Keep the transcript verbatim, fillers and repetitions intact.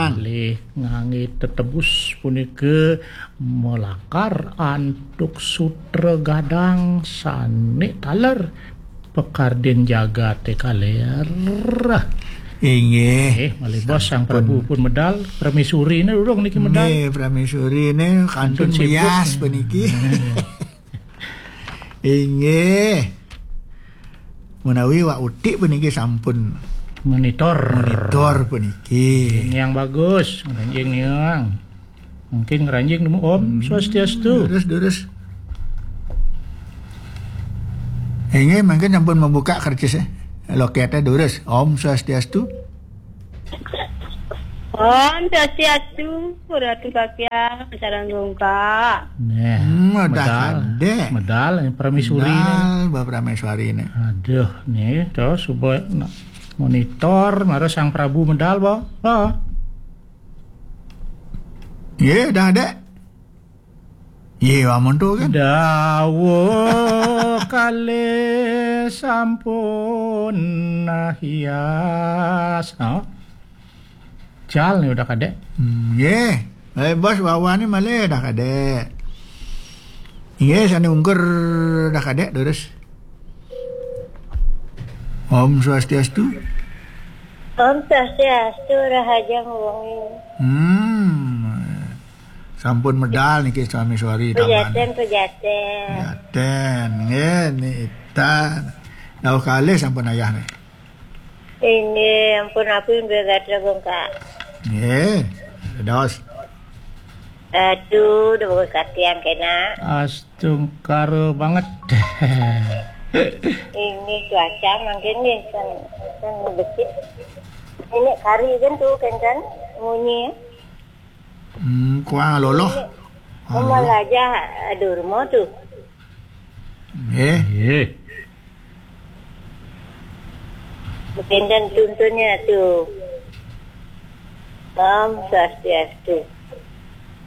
Malih nganggé tetebus punika malakar antuk sutra gadang sané taler pakardin jagaté kaler. Inggih. Eh, malih bos, Sang Prabu pun medal, Pramésuriné durung niki medal. Nggih, Pramésuriné kantun sibuk. Meyas puniki. Inggih. Menawi Wak Utik puniki sampun monitor. Monitor puniki. Ini yang bagus, ngranjing niang. Mungkin ngranjing nemu Om Swastiastu. Durus, durus. Inggih, mungkin sampun membuka kertas, eh. Loketnya durus. Om Swastiastu. Om Swastiastu, Ratu Kakyang, sareng Gungka. Nah, hmm, udah medal, ada. Medal, ini Pramésuri ini. Medal, Bapak Praméswari ini. Aduh, nih, terus coba monitor, mara Sang Prabu medal, Bo. Oh. Iya, udah ada. Iya, amun tuh kan. Dawuh kalih sampun hias. Oh. Jal nih udah kadek. Hmm, nggih. Eh, bos, wawane malih dah kadek. Nggih, sane ungkur dah kadek, durus. Om Swastiastu. Om Swastiastu, Rahaja Wengi. Hmm. Sampun medal niki sami sori taman. Pejaten, pejaten. Pejaten, nggih, nita. Dawuh kalih sampun ayah nih. Inggih, ampun, aku yang bergatra bengkak. Nggih, dados. Aduh, udah bagus katian kena. Astungkara banget. Ini cuaca mungkin nih, kan, kan becik. Ini kari kan tuh, kan, kan, munyi. Hmm, kuang loloh. Ini, halo. Malah aja, aduh, rumah tuh. Nggih. Nggih. Benten tuntunnya tuh. Om Swastiastu.